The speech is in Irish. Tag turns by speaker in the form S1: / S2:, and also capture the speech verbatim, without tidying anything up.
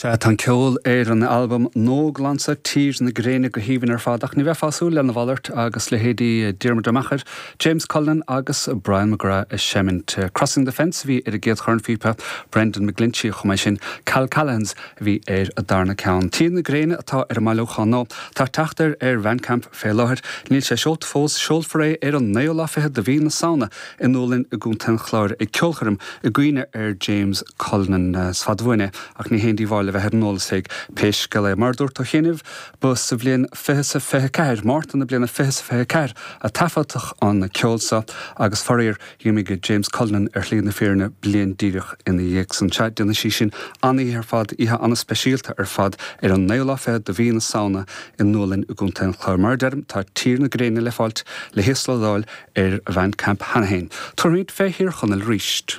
S1: Sea, tá an ceol ar an albam Nóglansa Tír na Gréine go haoibhinn ar fad ach ní bheifeá ag súil lena mhalairt agus leithéidí Diarmuid Ó Meachair, James Cullinan agus Brian McGrath ag seimint. Crossing the Fence a bhí ar an gcéad chornphíopa, Brendan McGlinchey chomh maith sin Cal Callaghan's a bhí ar an darna ceann. Tír na Gréine atá ar an mbailiúchán nó tá teacht air ar Bandcamp fé láthair, níl sé seolta fós seolfar é ar an naoú lá fichead de mhí na Samhna i nDúlainn i gContae an Chláir ag ceolchoirm i gcuimhne ar James Cullinan is fada uainn é ach ní haon díobháil a bheith ar an eolas fé pé scéal é mar dúirt ó chianaibh ba sa bhliain fiche sa fiche ceathair Márta na bliana fiche sa fiche ceathair a taifeadadh an ceol seo agus faraor d'imigh James Cullinan ar shlí na fírinne bliain díreach ina dhiaidh san. Sea déanfaidh sí sin an-oíche ar fad oíche an-speisialta ar fad ar an naoú lá fichead de mhí na Samhna i nDúlainn i gContae an Chláir. Mar a deirim tá Tír na Gréine le fáilt le híoslódáil ar Bandcamp cheana féin. Tabharfaimid fé Thír Chonaill arís.